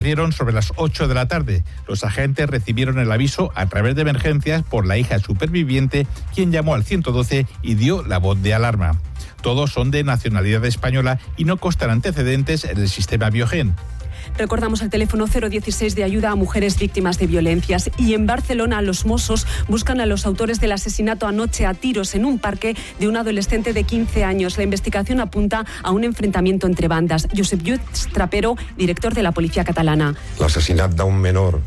Dieron sobre las 8 de la tarde. Los agentes recibieron el aviso a través de emergencias por la hija superviviente, quien llamó al 112 y dio la voz de alarma. Todos son de nacionalidad española y no constan antecedentes en el sistema Biogen. Recordamos el teléfono 016 de ayuda a mujeres víctimas de violencias. Y en Barcelona, los Mossos buscan a los autores del asesinato anoche a tiros en un parque de un adolescente de 15 años. La investigación apunta a un enfrentamiento entre bandas. Josep Lluís Trapero, director de la Policía Catalana. L'assassinat d'un menor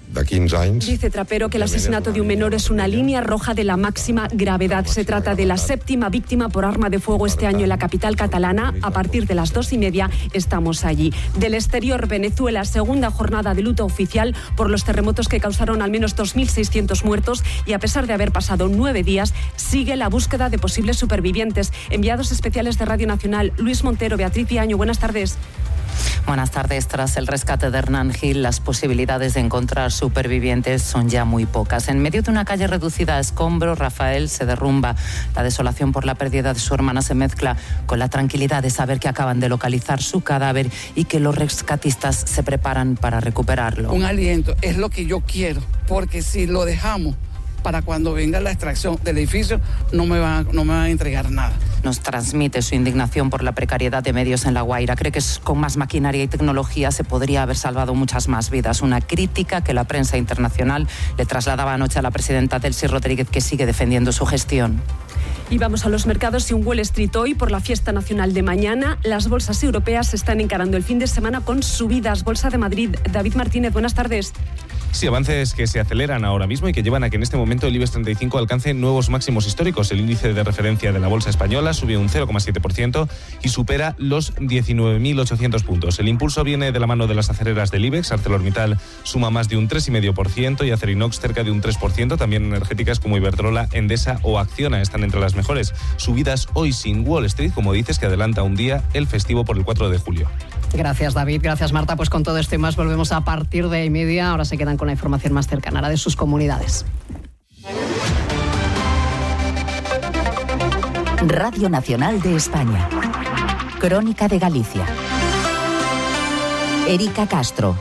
de 15 anys. Dice Trapero que el asesinato de un menor es una línea roja de la máxima gravedad. Se trata de la 7ª víctima por arma de fuego este año en la capital catalana. A partir de las 2:30 estamos allí. Del exterior, Venezuela, segunda jornada de luto oficial por los terremotos que causaron al menos 2.600 muertos y a pesar de haber pasado 9 días, sigue la búsqueda de posibles supervivientes. Enviados especiales de Radio Nacional, Luis Montero, Beatriz Viaño, buenas tardes. Buenas tardes. Tras el rescate de Hernán Gil, las posibilidades de encontrar supervivientes son ya muy pocas. En medio de una calle reducida a escombros, Rafael se derrumba. La desolación por la pérdida de su hermana se mezcla con la tranquilidad de saber que acaban de localizar su cadáver y que los rescatistas se preparan para recuperarlo. Un aliento es lo que yo quiero, porque si lo dejamos para cuando venga la extracción del edificio, no me van a entregar nada. Nos transmite su indignación por la precariedad de medios en La Guaira. Cree que con más maquinaria y tecnología se podría haber salvado muchas más vidas. Una crítica que la prensa internacional le trasladaba anoche a la presidenta Delcy Rodríguez, que sigue defendiendo su gestión. Y vamos a los mercados y un Wall Street hoy por la fiesta nacional de mañana. Las bolsas europeas están encarando el fin de semana con subidas. Bolsa de Madrid, David Martínez, buenas tardes. Sí, avances que se aceleran ahora mismo y que llevan a que en este momento el IBEX 35 alcance nuevos máximos históricos. El índice de referencia de la bolsa española sube un 0,7% y supera los 19.800 puntos. El impulso viene de la mano de las aceleras del IBEX. ArcelorMittal suma más de un 3,5% y Acerinox cerca de un 3%. También energéticas como Iberdrola, Endesa o Acciona están entre las mejores. Subidas hoy sin Wall Street, como dices, que adelanta un día el festivo por el 4 de julio. Gracias, David. Gracias, Marta. Pues con todo esto y más volvemos a partir de 1:30. Ahora se quedan con la información más cercana, la de sus comunidades. Radio Nacional de España. Crónica de Galicia. Erika Castro.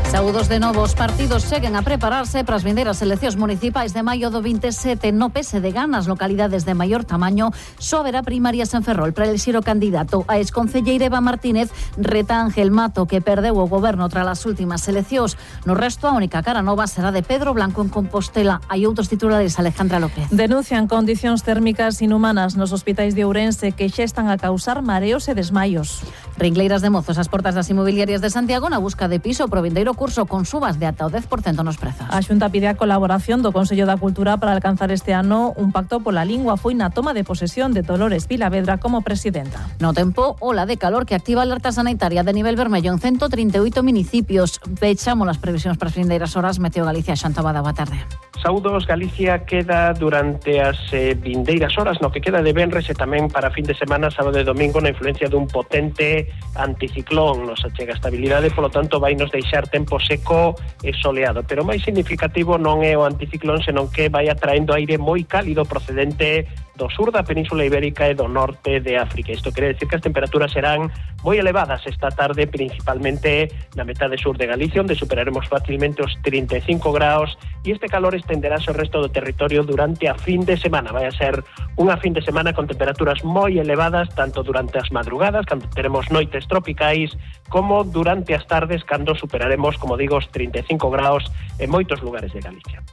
Saúdos de novo, os partidos seguen a prepararse para as vindeiras eleccións municipais de maio do 27. No PSDG, nas localidades de maior tamaño, só haberá primarias en Ferrol para elixir o candidato. A exconcelleira Eva Martínez reta a Ángel Mato, que perdeu o goberno tras as últimas eleccións. No resto, a única cara nova será de Pedro Blanco en Compostela. Hai outros titulares, Alejandra López. Denuncian condicións térmicas inhumanas nos hospitais de Ourense que xa están a causar mareos e desmaios. Ringleiras de mozos ás portas das inmobiliarias de Santiago na busca de piso pro vindeiro curso con subas de ata o 10% nos prezos. A Xunta pide a colaboración do Consello da Cultura para alcanzar este ano un pacto pola lingua. Foi na toma de posesión de Dolores Vilavedra como presidenta. No tempo, ola de calor que activa a alerta sanitaria de nivel vermello en 138 municipios. Pechamos as previsións para as vindeiras horas. Meteo Galicia, Xantabada, boa tarde. Saúdos, Galicia queda durante as vindeiras horas, no que queda de venres e tamén para fin de semana, sábado e domingo, na influencia dun potente anticiclón. Nos achega estabilidade, polo tanto, vai nos deixar tempo seco e soleado. Pero máis significativo non é o anticiclón, senón que vai atraendo aire moi cálido procedente do sur da Península Ibérica e do norte de África. Isto quere decir que as temperaturas serán moi elevadas esta tarde, principalmente na metade sur de Galicia, onde superaremos facilmente os 35 graus, e este calor estenderá ao resto do territorio durante a fin de semana. Vai a ser unha fin de semana con temperaturas moi elevadas, tanto durante as madrugadas, cando teremos noites tropicais, como durante as tardes, cando superaremos, como digo, os 35 graus en moitos lugares de Galicia.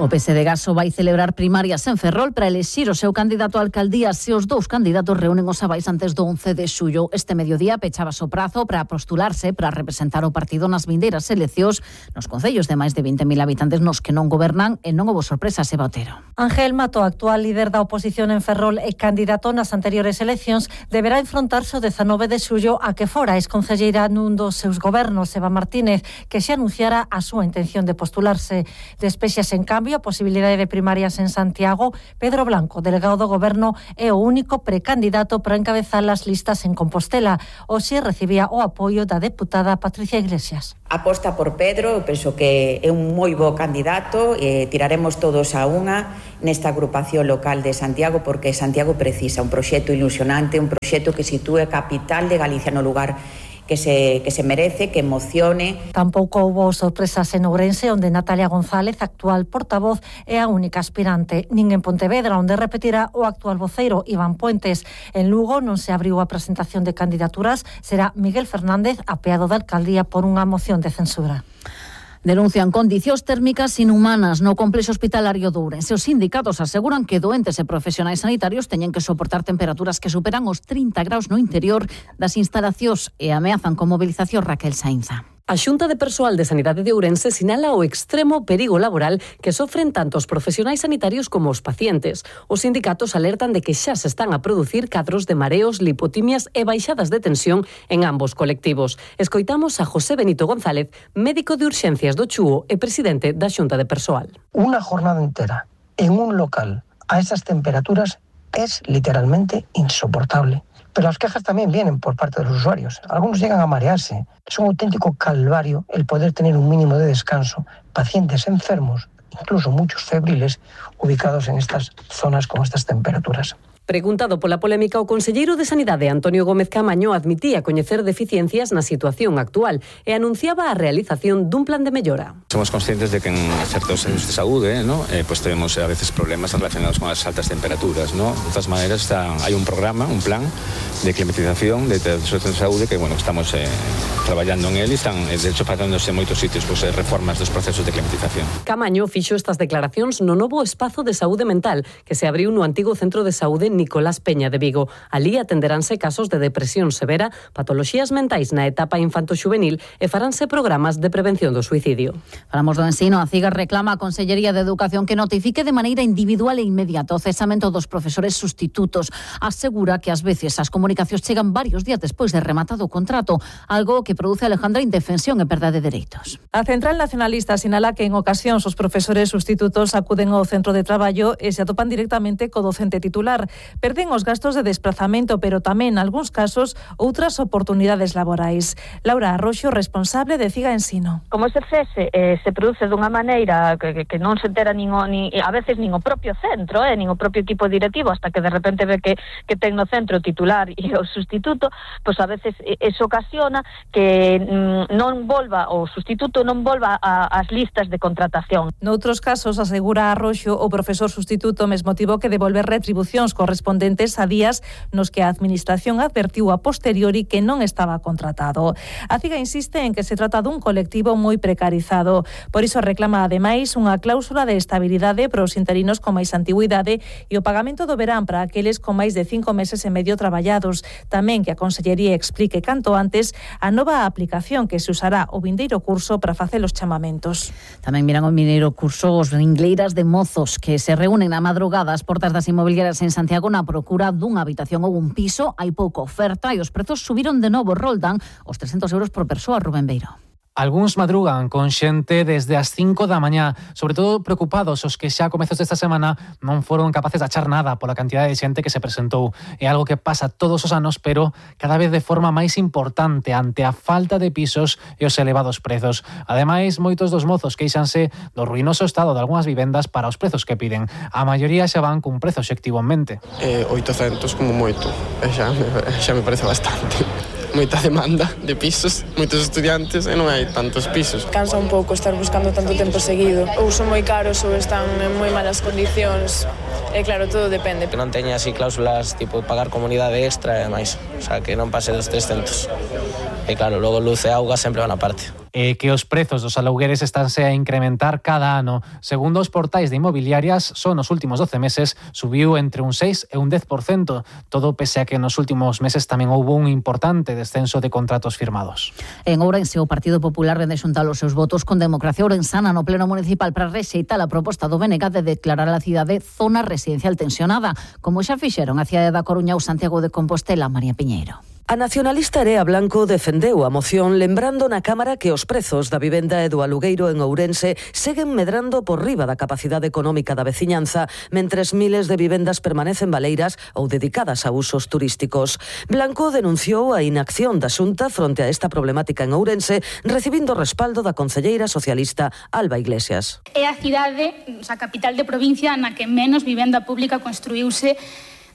O PSDG vai celebrar primarias en Ferrol para elixir o seu candidato a alcaldía se os dous candidatos reúnen os avais antes do 11 de xullo. Este mediodía pechaba o prazo para postularse para representar o partido nas vindeiras eleccións nos concellos de máis de 20.000 habitantes nos que non gobernan e non houbo sorpresas, Eva Otero. Ángel Mato, actual líder da oposición en Ferrol e candidato nas anteriores eleccións, deberá enfrontarse o 19 de xullo a que fora exconcelleira nun dos seus gobernos, Eva Martínez, que xa anunciara a súa intención de postularse. Despexas, en cambio, había posibilidade de primarias en Santiago, Pedro Blanco, delegado do Goberno, é o único precandidato para encabezar as listas en Compostela. Hoxe recibía o apoio da deputada Patricia Iglesias. Aposta por Pedro, eu penso que é un moi bo candidato, tiraremos todos a unha nesta agrupación local de Santiago, porque Santiago precisa un proxecto ilusionante, un proxecto que sitúe a capital de Galicia no lugar que se merece, que emocione. Tampouco houbo sorpresas en Ourense, onde Natalia González, actual portavoz, é a única aspirante. Nin en Pontevedra, onde repetirá o actual voceiro, Iván Puentes. En Lugo non se abriu a presentación de candidaturas, será Miguel Fernández, apeado da alcaldía por unha moción de censura. Denuncian condicións térmicas inhumanas no complexo hospitalario de Ourense. Os sindicatos aseguran que doentes e profesionais sanitarios teñen que soportar temperaturas que superan os 30 graus no interior das instalacións e ameazan con movilización. Raquel Sainza. A Xunta de Persoal de Sanidade de Ourense sinala o extremo perigo laboral que sofren tanto os profesionais sanitarios como os pacientes. Os sindicatos alertan de que xa se están a producir cadros de mareos, lipotimias e baixadas de tensión en ambos colectivos. Escoitamos a José Benito González, médico de urxencias do Chúo e presidente da Xunta de Persoal. Una jornada entera en un local a esas temperaturas es literalmente insoportable. Pero las quejas también vienen por parte de los usuarios. Algunos llegan a marearse. Es un auténtico calvario el poder tener un mínimo de descanso. Pacientes enfermos, incluso muchos febriles, ubicados en estas zonas con estas temperaturas. Preguntado pola polémica, o conselleiro de Sanidade, Antonio Gómez Caamaño, admitía coñecer deficiencias na situación actual e anunciaba a realización dun plan de mellora. Somos conscientes de que en certos centros de saúde, pues tenemos a veces problemas relacionados con las altas temperaturas, ¿no? De todas maneras, hay un programa, un plan de climatización de centros de saúde que, estamos traballando en él e están, de hecho, facéndose en moitos sitios reformas dos procesos de climatización. Caamaño fixo estas declaracións no novo espazo de saúde mental que se abriu no antigo centro de saúde Nicolás Peña de Vigo. Alí atenderánse casos de depresión severa, patoloxías mentais na etapa infanto-xuvenil e faránse programas de prevención do suicidio. Falamos do ensino. A CIGAS reclama a Consellería de Educación que notifique de maneira individual e inmediata o cesamento dos profesores sustitutos. Asegura que ás veces as comunicacións chegan varios días despois de rematado o contrato, algo que produce Alejandra indefensión e perda de dereitos. A Central Nacionalista sinala que en ocasións os profesores sustitutos acuden ao centro de traballo e se atopan directamente co docente titular. Perden os gastos de desplazamento, pero tamén, en algúns casos, outras oportunidades laborais. Laura Arroxo, responsable de CIGA Ensino. Como ese cese se produce dunha maneira que non se entera a veces nin o propio centro, nin o propio equipo directivo, hasta que de repente ve que ten no centro o titular e o sustituto, pois a veces eso ocasiona que non volva o sustituto non volva ás listas de contratación. Noutros casos, asegura Arroxo, o profesor sustituto mesmo tivo que devolver retribucións correspondentes a días nos que a Administración advertiu a posteriori que non estaba contratado. A CIGA insiste en que se trata dun colectivo moi precarizado. Por iso reclama, ademais, unha cláusula de estabilidade para os interinos con máis antigüidade e o pagamento do verán para aqueles con máis de 5 meses e medio traballados. Tamén que a Consellería explique canto antes a nova aplicación que se usará o vindeiro curso para facer os chamamentos. Tamén miran o vindeiro curso os ringleiras de mozos que se reúnen a madrugada ás portas das inmobiliarias en Santiago na procura dunha habitación ou un piso. Hai pouca oferta e os prezos subiron de novo, roldan os 300 euros por persoa. Rubén Beiro. Algúns madrugan con xente desde as 5 da mañá, sobre todo preocupados os que xa a comezos desta semana non foron capaces de achar nada pola cantidade de xente que se presentou. É algo que pasa todos os anos, pero cada vez de forma máis importante ante a falta de pisos e os elevados prezos. Ademais, moitos dos mozos queixanse do ruinoso estado de algunhas vivendas para os prezos que piden. A maioría xa van cun prezo obxectivo en mente. 800 como moito, xa me parece bastante. Moita demanda de pisos, moitos estudiantes e non hai tantos pisos. Cansa un pouco estar buscando tanto tempo seguido. Ou son moi caros ou están en moi malas condicións. E claro, todo depende. Que non teña así cláusulas tipo pagar comunidade extra e demais. O sea, que non pase dos 300. E claro, logo luz e auga sempre van aparte. E que os prezos dos alugueres estánse a incrementar cada ano. Segundo os portais de inmobiliarias, só nos últimos 12 meses subiu entre un 6 e un 10%, todo pese a que nos últimos meses tamén houve un importante descenso de contratos firmados. En Ourense, o Partido Popular vende xuntar os seus votos con Democracia Ourensana no Pleno Municipal para rexeitar a proposta do BNG de declarar a cidade zona residencial tensionada, como xa fixeron a cidade da Coruña ou Santiago de Compostela. María Piñeiro. A nacionalista Area Blanco defendeu a moción lembrando na Cámara que os prezos da vivenda e do alugueiro en Ourense seguen medrando por riba da capacidade económica da veciñanza, mentres miles de vivendas permanecen baleiras ou dedicadas a usos turísticos. Blanco denunciou a inacción da Xunta fronte a esta problemática en Ourense, recibindo respaldo da concelleira socialista Alba Iglesias. É a cidade, a capital de provincia, na que menos vivenda pública construíuse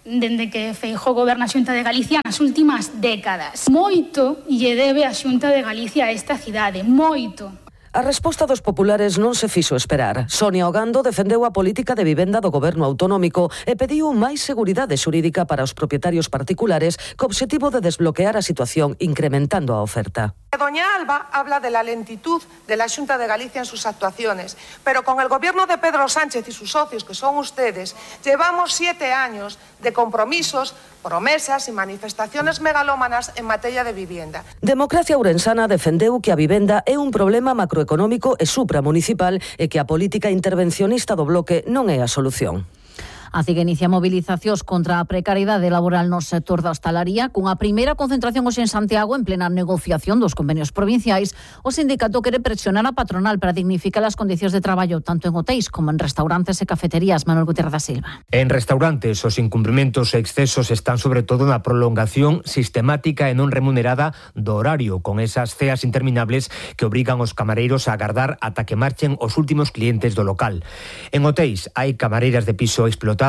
dende que Feijóo goberna a Xunta de Galicia nas últimas décadas. Moito lle debe a Xunta de Galicia a esta cidade, moito. A resposta dos populares non se fixo esperar. Sonia Ogando defendeu a política de vivenda do goberno autonómico e pediu máis seguridade xurídica para os propietarios particulares co obxectivo de desbloquear a situación incrementando a oferta. Doña Alba habla de la lentitud de la Xunta de Galicia en sus actuaciones, pero con el gobierno de Pedro Sánchez y sus socios, que son ustedes, llevamos 7 años de compromisos, promesas y manifestaciones megalómanas en materia de vivienda. Democracia Ourensana defendeu que a vivenda é un problema macroeconómico e supramunicipal e que a política intervencionista do bloque non é a solución. A CIG inicia movilizacións contra a precariedade laboral no sector da hostalaría. Cunha primeira concentración hoxe en Santiago en plena negociación dos convenios provinciais, o sindicato quere presionar a patronal para dignificar as condicións de traballo tanto en hotéis como en restaurantes e cafeterías. Manuel Gutiérrez da Silva. En restaurantes, os incumprimentos e excesos están sobre todo na prolongación sistemática e non remunerada do horario, con esas ceas interminables que obrigan os camareiros a agardar ata que marchen os últimos clientes do local. En hotéis hai camareiras de piso explotadas,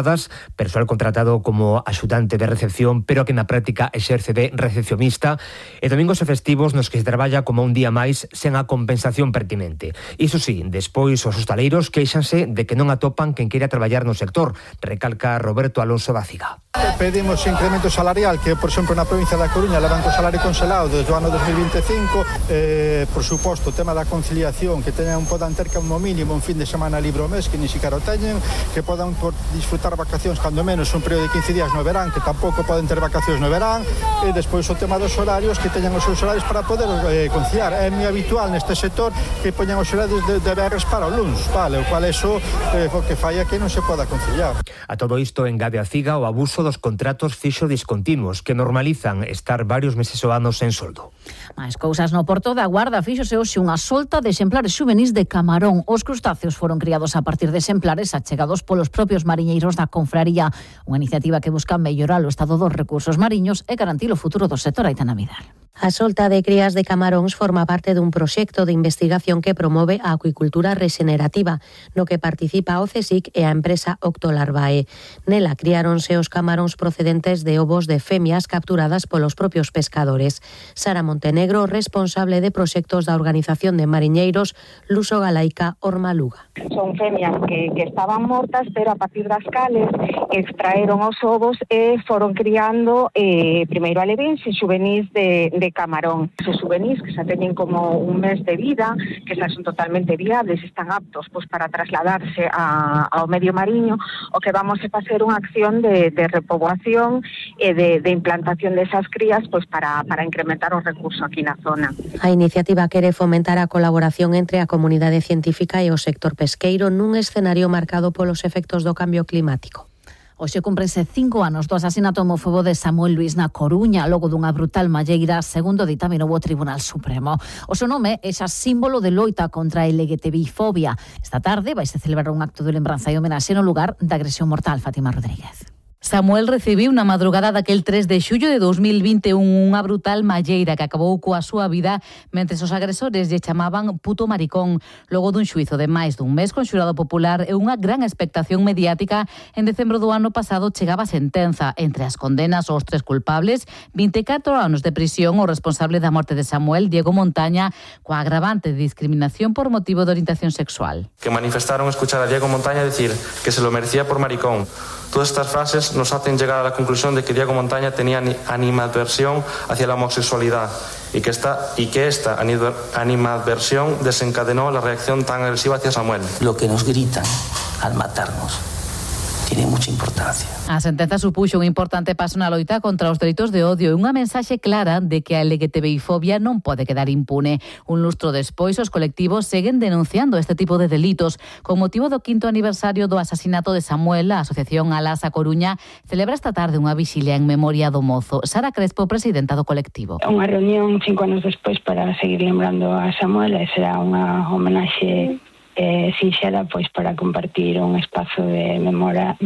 persoal contratado como axudante de recepción, pero que na práctica exerce de recepcionista, e domingos e festivos nos que se traballa como un día máis sen a compensación pertinente. Iso sí, despois os hostaleiros queixanse de que non atopan quen queira traballar no sector, recalca Roberto Alonso da CIGA. Pedimos incremento salarial, que por exemplo na provincia da Coruña levan co salario congelado desde o ano 2025, por suposto o tema da conciliación, que podan ter como mínimo un fin de semana libre ao mes, que ni siquiera o teñen, que podan disfrutar vacacións cando menos un período de 15 días no verán, que tampouco poden ter vacacións no verán, e despois o tema dos horarios, que teñan os seus horarios para poder conciliar. É moi habitual neste sector que poñan os horarios de berres para o luns, vale, o cual eso o que fai é que non se poda conciliar. A todo isto engade a CIGA o abuso dos contratos fixo discontinuos que normalizan estar varios meses ou anos sen soldo. Mais cousas no Porto da Guarda. Fíxose hoxe unha solta de exemplares xuvenís de camarón. Os crustáceos foron criados a partir de exemplares achegados polos propios mariñeiros da confraría. Unha iniciativa que busca mellorar o estado dos recursos mariños e garantir o futuro do sector. Aitana Vidal. A solta de crías de camaróns forma parte dun proxecto de investigación que promove a acuicultura regenerativa, no que participa o CSIC e a empresa Octolarvae. Nela criáronse os camaróns procedentes de ovos de femias capturadas polos propios pescadores. Sara Montenegro, responsable de proxectos da Organización de Mariñeiros Luso Galaica Ormaluga. Son femias que estaban mortas, pero a partir das cales extraeron os ovos e foron criando primeiro alevíns e xuvenís de camarón. Os xuvenís que xa teñen como un mes de vida, que xa son totalmente viables, están aptos para trasladarse ao medio mariño, o que vamos a facer unha acción de repoboación e de implantación desas crías para incrementar os recursos aquí na zona. A iniciativa quere fomentar a colaboración entre a comunidade científica e o sector pesqueiro nun escenario marcado polos efectos do cambio climático. Hoxe cúmprense 5 anos do asasinato homófobo de Samuel Luís na Coruña, logo dunha brutal malleira, segundo ditaminou o Tribunal Supremo. O seu nome é xa símbolo de loita contra a LGTBI-fobia. Esta tarde vaise celebrar un acto de lembranza e homenaxe no lugar da agresión mortal. Fátima Rodríguez. Samuel recibiu na madrugada daquel 3 de xullo de 2021 unha brutal malleira que acabou coa súa vida mentres os agresores lle chamaban puto maricón. Logo dun xuizo de máis dun mes con xurado popular e unha gran expectación mediática, en decembro do ano pasado chegaba a sentenza. Entre as condenas aos 3 culpables, 24 anos de prisión o responsable da morte de Samuel, Diego Montaña, coa agravante de discriminación por motivo de orientación sexual. Que manifestaron escuchar a Diego Montaña decir que se lo merecía por maricón. Todas estas frases nos hacen llegar a la conclusión de que Diego Montaña tenía animadversión hacia la homosexualidad y que esta animadversión desencadenó la reacción tan agresiva hacia Samuel. Lo que nos gritan al matarnos tiene mucha importancia. A sentenza supuxo un importante paso na loita contra os delitos de odio e unha mensaxe clara de que a LGTBI-fobia non pode quedar impune. Un lustro despois, os colectivos seguen denunciando este tipo de delitos. Con motivo do 5º aniversario do asasinato de Samuel, a Asociación Alas a Coruña celebra esta tarde unha vixilia en memoria do mozo. Sara Crespo, presidenta do colectivo. Unha reunión 5 anos despois para seguir lembrando a Samuel e será unha homenaxe sinxela pois para compartir un espazo de memoria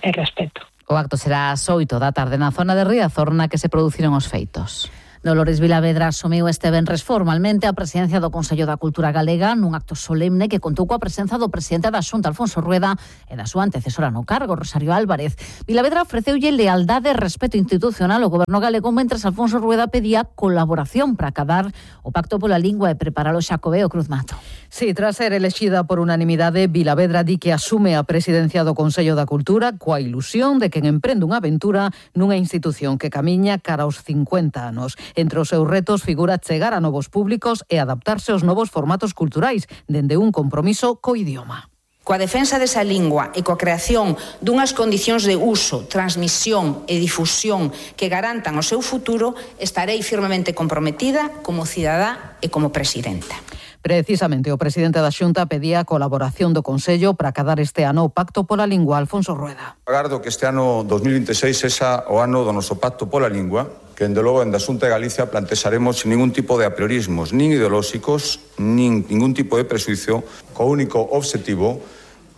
e respeto. O acto será ás 8 da tarde na zona de Riazor na que se produciron os feitos. Dolores Vilavedra asumiu este venres formalmente a presidencia do Consello da Cultura Galega nun acto solemne que contou coa presenza do presidente da Xunta, Alfonso Rueda, e da súa antecesora no cargo, Rosario Álvarez. Vilavedra ofreceulle lealdade e respeto institucional ao goberno galego mentres Alfonso Rueda pedía colaboración para acadar o pacto pola lingua e preparar o Xacobeo Cruz Mato. Sí, tras ser elexida por unanimidade, Vilavedra di que asume a presidencia do Consello da Cultura coa ilusión de que emprende unha aventura nunha institución que camiña cara aos 50 anos. Entre os seus retos figura chegar a novos públicos e adaptarse aos novos formatos culturais, dende un compromiso co idioma. Coa defensa desa lingua e coa creación dunhas condicións de uso, transmisión e difusión que garantan o seu futuro, estarei firmemente comprometida como cidadá e como presidenta. Precisamente, o presidente da Xunta pedía a colaboración do Consello para acadar este ano o Pacto pola Lingua, Alfonso Rueda. Agardo que este ano 2026 sexa o ano do noso Pacto pola Lingua, que, dende logo, en da Xunta de Galicia plantexaremos sin ningún tipo de apriorismos, nin ideolóxicos, nin ningún tipo de presuizo, co único obxectivo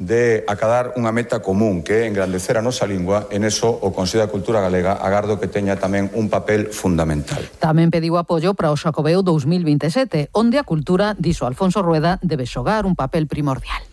de acadar unha meta común, que é engrandecer a nosa lingua. En eso, o Consello da Cultura Galega agardo que teña tamén un papel fundamental. Tamén pediu apoio para o Xacobeo 2027, onde a cultura, dixo Alfonso Rueda, debe xogar un papel primordial.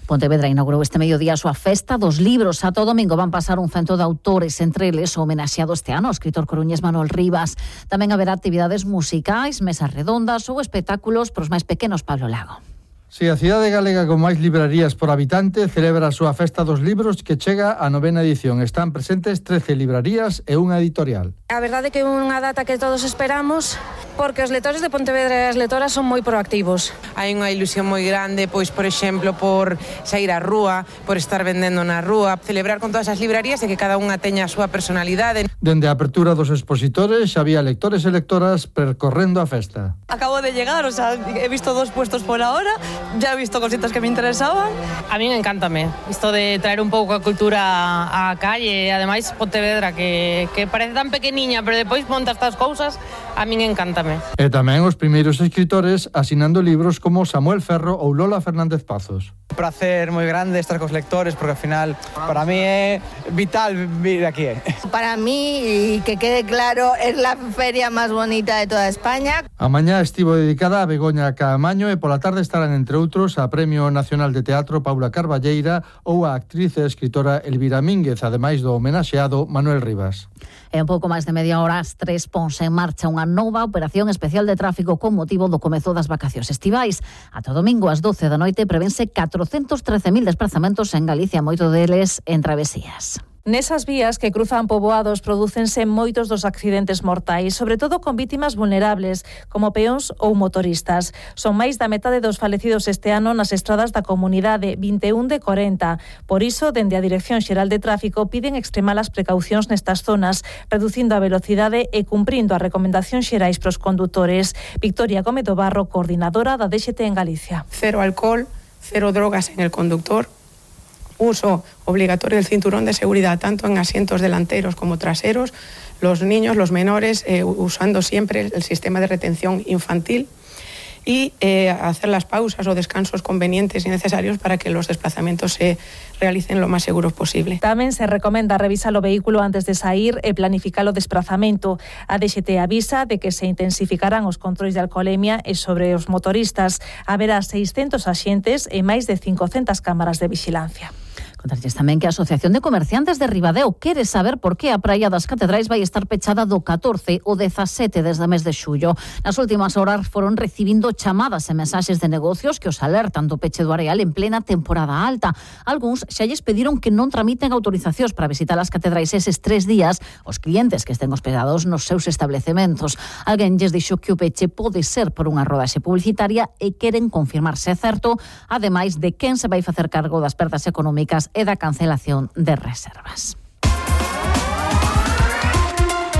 Pontevedra inaugurou este mediodía a súa festa dos libros. Ata o domingo van pasar un cento de autores, entre eles o homenaxeado este ano, o escritor coruñés Manuel Rivas. Tamén haberá actividades musicais, mesas redondas ou espectáculos pros máis pequenos, Pablo Lago. Si a cidade galega con máis librarías por habitante celebra a súa festa dos libros que chega a 9ª edición. Están presentes 13 librarías e unha editorial. A verdade é que é unha data que todos esperamos porque os lectores de Pontevedra e as lectoras son moi proactivos. Hai unha ilusión moi grande, pois, por exemplo, por sair á rúa, por estar vendendo na rúa, celebrar con todas as librarías e que cada unha teña a súa personalidade. Dende a apertura dos expositores xa había lectores e lectoras percorrendo a festa. Acabo de llegar, o sea, he visto 2 puestos por ahora. Ya he visto cositas que me interesaban. A mí encántame isto de traer un pouco a cultura á calle, e ademais Pontevedra que parece tan pequeniña, pero depois monta estas cousas, a min encántame. E tamén os primeiros escritores asinando libros como Samuel Ferro ou Lola Fernández Pazos. Un placer moi grande estar cos lectores porque ao final para mí é vital vir aquí. Para mí, y que quede claro, es la feria máis bonita de toda España. A mañá estivo dedicada a Begoña Caamaño e pola tarde estarán entre outros a Premio Nacional de Teatro Paula Carballeira ou a actriz e escritora Elvira Mínguez, ademais do homenaxeado Manuel Rivas. En pouco máis de media hora, as 3 ponse en marcha unha nova operación especial de tráfico con motivo do comezo das vacacións estivais. Ata o domingo ás 12 da noite prevense 413.000 desplazamentos en Galicia, moito deles en travesías. Nesas vías que cruzan poboados prodúcense moitos dos accidentes mortais, sobre todo con vítimas vulnerables, como peóns ou motoristas. Son máis da metade dos falecidos este ano nas estradas da comunidade, 21 de 40. Por iso, dende a Dirección Xeral de Tráfico, piden extremar as precaucións nestas zonas, reducindo a velocidade e cumprindo as recomendacións xerais pros condutores. Victoria Gómez do Barro, coordinadora da DXT en Galicia. Cero alcohol, cero drogas en el conductor. Uso obligatorio del cinturón de seguridad tanto en asientos delanteros como traseros, los niños, los menores, usando siempre el sistema de retención infantil y hacer las pausas o descansos convenientes y necesarios para que los desplazamientos se realicen lo máis seguros posible. Tamén se recomenda revisar o vehículo antes de sair e planificar o desplazamento. A DXT avisa de que se intensificarán os controis de alcoholemia e sobre os motoristas. Haberá 600 axentes e máis de 500 cámaras de vigilancia. Contarlles tamén que a Asociación de Comerciantes de Ribadeo quere saber por que a Praia das Catedrais vai estar pechada do 14 ao 17 desde o mes de xullo. Nas últimas horas foron recibindo chamadas e mensaxes de negocios que os alertan do peche do areal en plena temporada alta. Algúns xa lles pediron que non tramiten autorizacións para visitar as catedrais eses 3 días os clientes que estén hospedados nos seus establecementos. Alguén lles dixo que o peche pode ser por unha rodaxe publicitaria e queren confirmar se é certo, ademais de quen se vai facer cargo das perdas económicas e da cancelación de reservas.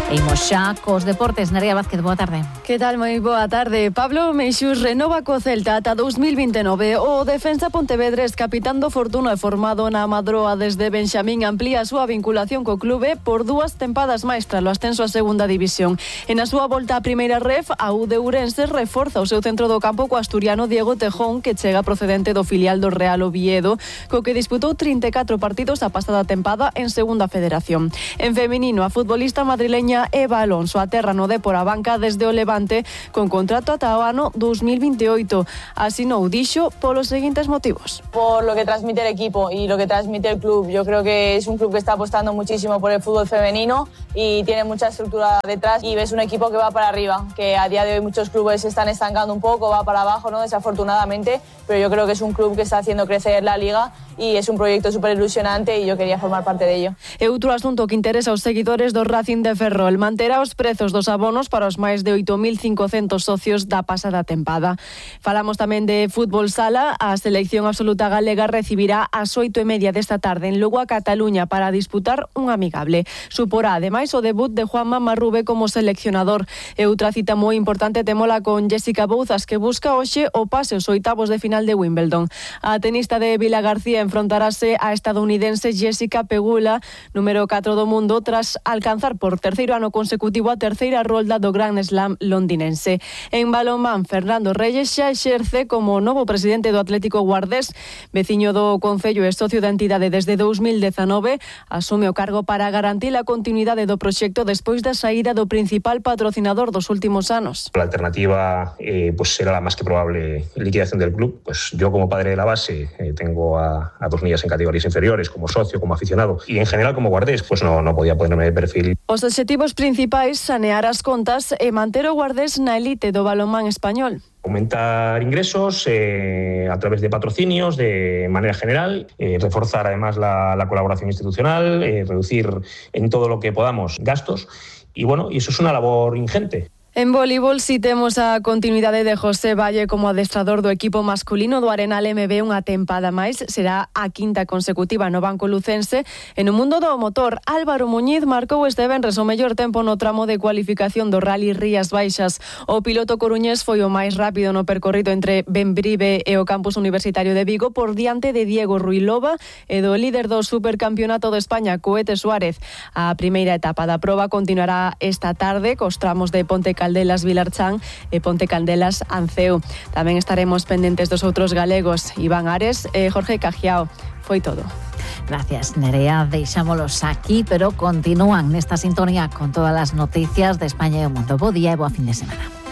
Imos xa cos deportes. Nerea Vázquez, boa tarde. Que tal, moi boa tarde. Pablo Meixús renova co Celta ata 2029. O defensa pontevedrés, capitán do Fortuna e formado na Madroa desde Benxamín, amplía a súa vinculación co clube por 2 tempadas máis tras o ascenso a segunda división. E na súa volta á primeira ref, a U de Ourense reforza o seu centro do campo co asturiano Diego Tejón, que chega procedente do filial do Real Oviedo, co que disputou 34 partidos a pasada tempada en segunda federación. En feminino, a futbolista madrileña Eva Alonso aterra no Dépor a banca desde o Levante con contrato ata o ano 2028. Asinou, dixo, polos seguintes motivos. Por lo que transmite el equipo y lo que transmite el club. Yo creo que es un club que está apostando muchísimo por el fútbol femenino y tiene mucha estructura detrás y ves un equipo que va para arriba, que a día de hoy muchos clubes se están estancando un poco, va para abajo, ¿no? Desafortunadamente, pero yo creo que es un club que está haciendo crecer la liga y es un proyecto súper ilusionante y yo quería formar parte de ello. E outro asunto que interesa aos seguidores do Racing de Ferrol manterá os prezos dos abonos para os máis de 8.500 socios da pasada tempada. Falamos tamén de fútbol sala. A selección absoluta galega recibirá ás 8:30 desta tarde en Lugo a Cataluña para disputar un amigable. Suporá ademais o debut de Juanma Marrube como seleccionador. E outra cita moi importante temola con Jessica Bouzas, que busca hoxe o pase aos oitavos de final de Wimbledon. A tenista de Vilagarcía enfrontarase a estadounidense Jessica Pegula, número 4 do mundo, tras alcanzar por terceiro ano consecutivo a terceira rolda do Grand Slam londinense. En balonmán, Fernando Reyes xa exerce como novo presidente do Atlético Guardés. Veciño do Concello e socio da entidade desde 2019, asume o cargo para garantir a continuidade do proxecto despois da saída do principal patrocinador dos últimos anos. La alternativa pues será la más que probable liquidación del club. Pues yo como padre de la base tengo a 2 niñas en categorías inferiores, como socio, como aficionado y en general como guardés, pues no podía ponerme de perfil. Os obxectivos principais, sanear as contas e manter o Guardés na elite do balonmán español. Aumentar ingresos a través de patrocinios de manera general, reforzar además la colaboración institucional, reducir en todo lo que podamos gastos y bueno, y eso es una labor ingente. En voleibol si temos a continuidade de José Valle como adestrador do equipo masculino do Arenal MB unha tempada máis. Será a 5ª consecutiva no banco lucense. E no mundo do motor, Álvaro Muñiz marcou este venres o mellor tempo no tramo de cualificación do Rally Rías Baixas. O piloto coruñés foi o máis rápido no percorrido entre Benbrive e o campus universitario de Vigo por diante de Diego Ruilova e do líder do Supercampeonato de España, Coete Suárez. A primeira etapa da proba continuará esta tarde cos tramos de Ponte Caldelas Vilarchán e Ponte Caldelas Anceu. Tamén estaremos pendentes dos outros galegos, Iván Ares e Jorge Cajiao. Foi todo. Gracias, Nerea. Deixámolos aquí, pero continúan nesta sintonía con todas as noticias de España e o mundo. Bo día e boa fin de semana.